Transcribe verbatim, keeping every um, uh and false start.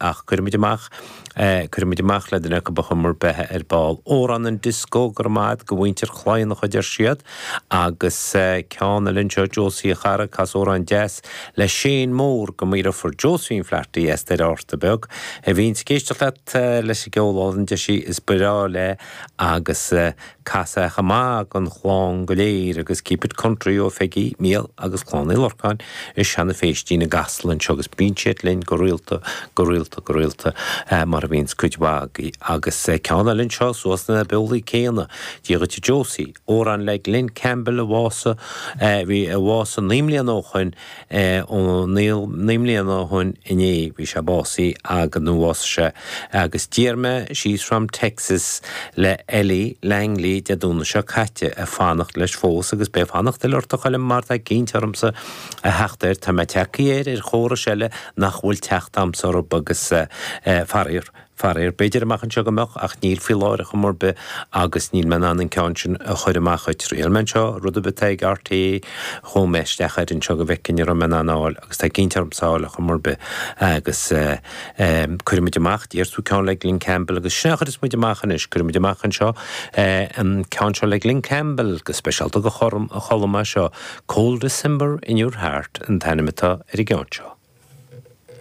ach cuirfimid amach cuirfimid amach le duine acu ar chuma ar bith ar ball. Amhrán an disco go raibh maith agat go mhuintir Chladhnach a deir siad agus ceann eile anseo Josie a chara cas amhrán deas le Shane Mór go mo dheirfiúr Josephine Flaherty as Doire Fhatharta Beag a bhíonn ag éisteacht leat leis an gceol álainn deir sí is breá léi agus cas é chomh maith don chlann go léir agus keep it country ó Pheigí, Mícheál agus Clann Uí Lorcáin i Seanadh Phéistín i gCasla anseo agus bíonn siad linn go rialta go rialta go rialta mar a bhíonns cuid mhaith agaibh agus ceann eile anseo suas na beolaí céanna Dia dhuit a Josie, amhrán le Glen Campbell a bhásaigh bhí a bhásaigh naoi mbliana ó shoin ó naoi mbliana ó shoin inné bhí sé básaithe agus nó bhásaigh sé agus d'iarr mé She's from Texas le Ellie Langley Dé Domhnaigh seo caite ag fanacht leis fós agus beidh fanacht eile ort a Choilm mar tá cinnte ormsa a theacht air tá mé tagtha air ar chórais eile nach bhfuil teacht a'msa orthu agus faraor faraor b'fhéidir amach anseo go mbeadh ach níl faoi láthair ar chuma ar bith agus níl mé in ann an ceann sin a chur amach dhuit. Thriail mé anseo rud ar bith atá ag RTÉ chuaigh mé isteach air anseo go bhfeicfinn an raibh mé in ann a fháil agus tá cinnte ormsa a fháil ar chuma ar bith agus cuirfimid amach d'iarr tú ceann le Glen Campbell agus sin é a chuirfeas muid amach anois cuirfimid amach anseo an ceann seo le Glen Campbell go speisialta do Cholm é seo Cold December in Your Heart an t-ainm atá ar an gceann seo.